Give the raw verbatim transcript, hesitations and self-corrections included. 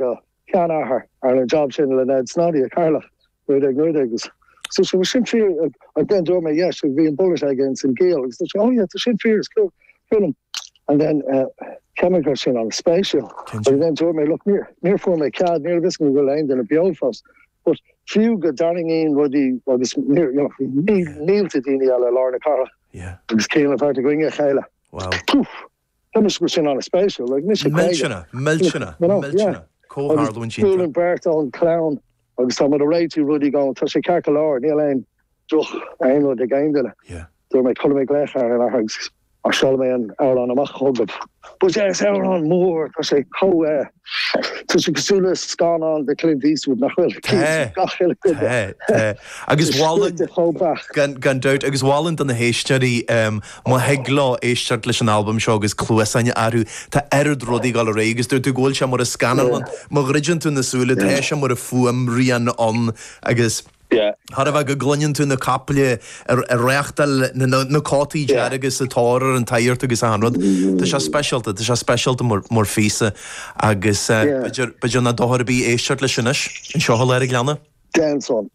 do sheanathair ar an job sin le Ned Snoddy a Carlach nuair agus So so sin fíor and then dúirt mé yes bhí an bullet against an géal agus oh yeah tá sin fíor cool cool and then uh, chemical sin an-spéisiúil and then dúirt mé look níor níor fuair mé cead níor vis go aon duine beo fós but fiú go dtarraingíonn rudaí agus mílte daoine eile lár na cathrach agus céim feart go chéile. Wow. Tá go sin an-spéisiúil like Millteanach millteanach millteanach comhtharlúint sin beirt ón clann agus tá a réitiú rudaí gan tá sé ceart go leor níl aon droch aon rud ag aon duine. Dúirt mé cuirfidh mé glaoch ar an agus a seol mé an amhrán amach chugaibh. But é amhrán mór tá sé có Tá sé cosúil le scannán de Clint Eastwood nach bhfuil agus gan gan dabht agus mholfainn do na héisteoirí má thig leo éisteacht leis an albam seo agus cluasáin orthu tá oiread rudaí gal ré agus dúirt tú go bhfuil sé mar a scannán má dhruideann tú na súile tá sé mar a fuaimrian ann agus Thar a bheith go gcluineann tú na caiple ar reachtal na cótaí dearga sa tóir ar an taírt agus an rud. Tá sé speisialta, tá sé speisialta mar phíosa agus b'fhéidir nach dochar ar bith éisteacht leis anois anseo ar ag leanna. Déan san.